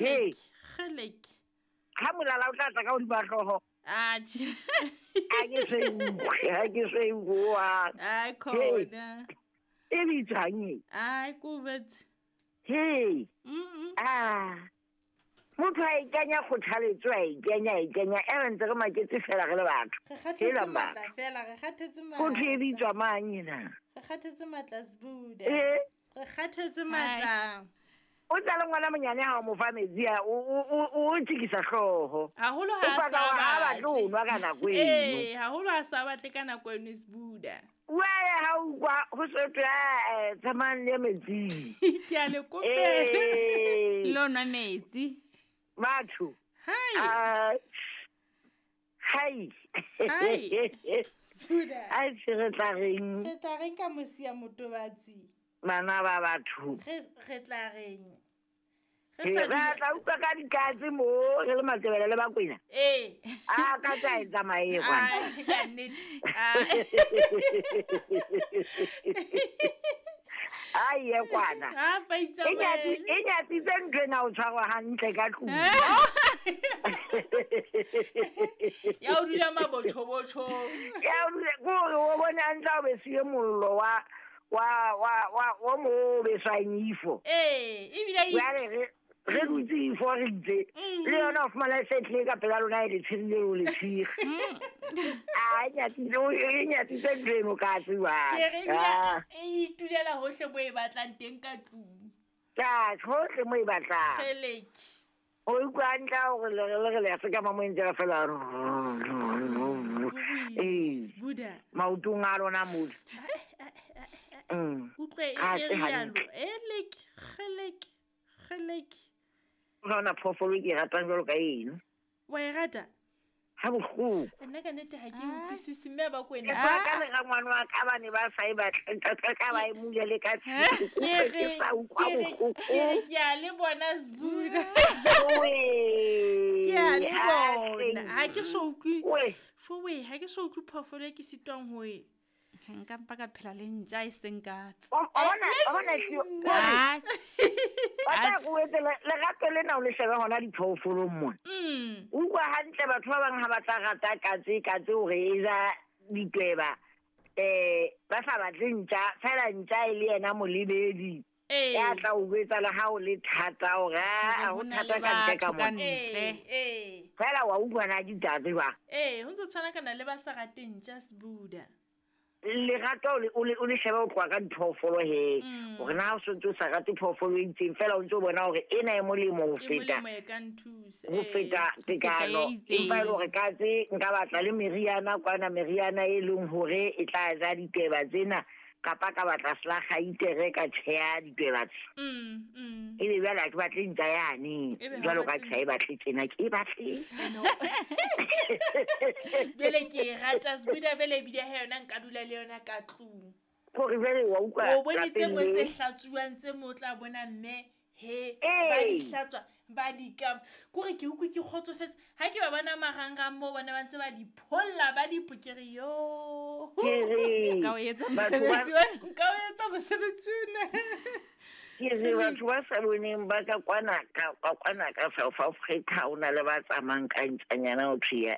Kgelek, kgelek. Ha molala o tla tla ka hodima hlooho. Atjhe. Ha ke so e utlwe, ha ke so e utlwe hohang. Ai khona. E bitswang e? Ai ko betse. Hey. Mm. Ah. Motho a ikanya kgothaletso, a ikanya, a ikanya, e re ntse re maketse fela re le batho. Re kgathetse Hela matla batho. fela, re kgathetse Ho thwe e matla. bitswa mang ena? Re kgathetse matla Sbuda. Eh. Re kgathetse matla. O tla le ngwana monyane ha o mo fa metsi a o tsikisa hlooho. Haholo O ha a paka sa hore ha batle ho batle. nwa ka nako eno. Ee, haholo ha sa batle ka nako eno Sbuda. Jwale ha o utlwa ho so thwe, "Ah, tsamayang le ye metsing." Ke a le kopela. Eh. Le o nwa metsi. Batho. Hai. Ah, hai. Hai. Sbuda. Ai, se re tla reng? Re tla reng ka mosia motobatsi? Bana ba batho. Re tla reng? Re Re sa dula- tla utlwa ka dikatse mo, re le Matebele le Bakwena. Ee. A ka tsa e tsamaye kwana. Ah, tjhe, ka nnete. Ah. A ye kwana. Ah, fa E itsamaele. nyatsitse ntho ena o tshwarwa hantle ka tlung. Ya o dula mabotjhobotjhong. Ya o dula, ke hore o bone hantle ha o besiwe mollo wa mo o beswang ifo. Ee, ebile e- Jwale re dutse ifo re itse. Le yona o fumana e se tlile ka pela lona e le tshirile o le tshire. A e nyatsitse, e nyatsitse ntho eno ka tsejwale. Ke re ebile Ah. e itulela hohle mo e batlang teng ka tlung. Ka hohle mo e batlang. Kgeleke. O utlwa hantle ha hore le re le ya sekama mo e ntse re fela. Ee. Sbuda. Maotong a lona mole. Utlwe e Ha e se rialo. hantle. Eleke, kgeleke, kgeleke. Ha hona phoofolo e ke e ratang jwalo ka eno. Wa e rata? Ha bohloko. Nna ka nnete ha ke utlwisise mme ba Kwena. Ke tswa ka lera ngwana wa ka ba ne ba sa e batle, ka ba e mule le ka tshilo. Ke Ke re, sa utlwa ke re, bohloko. ke re ke a le bona Sbuda. Oe. Ke a le Ah, bona. hleng. Ha ke so utlwe. Oe. Showe, ha ke so utlwe phoofolo e ke sitwang ho e. Nka mpa ka phela le ntja e seng katse. O bona hlio. Ah, Ba tla ko etse lerato lena o le shebe hona diphoofolong mona. Utlwa hantle batho ba bang ha ba tla rata katse, katse hore e ja ditweba. Ba sa batle ntja, fela ntja e le yena molebedi. Ee. Ya tla o jwetsa le ha o le thata hore, ah, ho Ho na thata le ka ntle ka batho ka mona. ntle. Ee, ee. Fela wa utlwa na ditaba jwang? Ee, ho ntso tshwana kana le ba sa rateng ntja Sbuda. Lerato o le shebe o tloha ka diphoofolo he. Hore na o sontse o sa rate phoofolo e itseng, fela o ntso o bona hore ena e molemo ho E feta. molemo e ka nthusa. Ho feta Ho feta tekano. e itseng. Empa e le hore katse nka batla le meriana kwana, meriana e leng hore e tla ja ditweba tsena, kapa ka batla selakgaitere ka tjheha ditweba tse. Ebe jwale ha ke batle ntja yane. Ebe ha o Jwalo ka batle ke sa e batle tjena, ke e batle. No. Jwale ke e rata Sbuda, jwale ebile ha yona nka dula le yona ka tlung. Hore jwale wa utlwa O bone tse lapeng mo tse le. hlatsuwang tse mo tla bona mme he Ee. ba di hlatswa, ba di ka. Kore ke utlwe ke kgotsofetse ha ke ba bona marangrang moo bona ba ntse ba di pholla, ba di pokere yo. Ke re, Nka o etsa batho ba mosebetsi ona. Nka o etsa mosebetsi ona. Ke re batho ba sa boneng ba ka kwana ka, ka kwana ka South Africa, ho na le ba tsamayang ka ntjanyana ho thwe ya.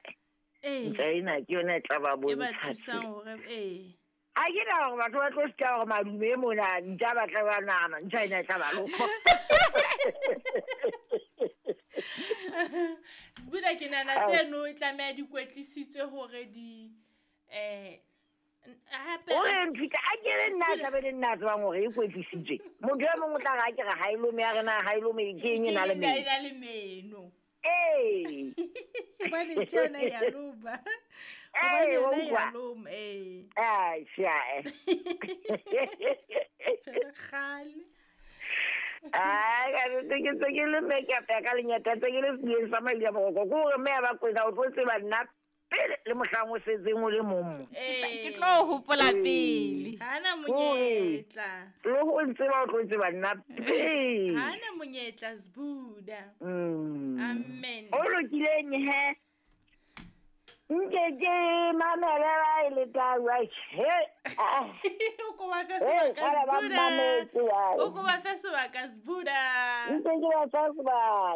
Ee. Ntja ena ke yona e tla ba E ba bontsha thusang tsela. hore, ee. Ha ke nahana hore batho ba tlo sita hore madume mona, ntja ba tla ba nahana, ntja ena e tla ba lofa. Sbuda, ke nahana tseno e tlameha di kwetlisitswe hore di, hape O re nthuta, a ke re nna tla be le nna a tsebang hore e kwetlisitswe. Motho e mong o tla re a ke re ha e lome, a re na ha e lome, ke eng e na le Ke meno? eng e na le meno? Ee. Hobane ntja yona e a loma. Ee, Hobane wa yona e a utlwa. loma, ee. Ai, sia. Tjhe, kgale. Ai, ka nnete ke ntse ke le makeup ya ka lenyata, ntse ke le sebeng sa madi a boroko. Ke hore mme ya ba kwena, o tlo tseba nna pele le mohlang o setseng o le mong mo. Ke tlo o hopola pele. Ha na monyetla. Le ho ntseba o tlo tseba nna pele. Ha na monyetla Sbuda. Amen. O lokileng he? Nke ke mamele ba e le tau, ai, he, ah. O ko ba fe Eh, sebaka, kgale ba Sbuda. mmametse, ai. O ko ba fe sebaka, Sbuda. Nke ke ba fa sebaka.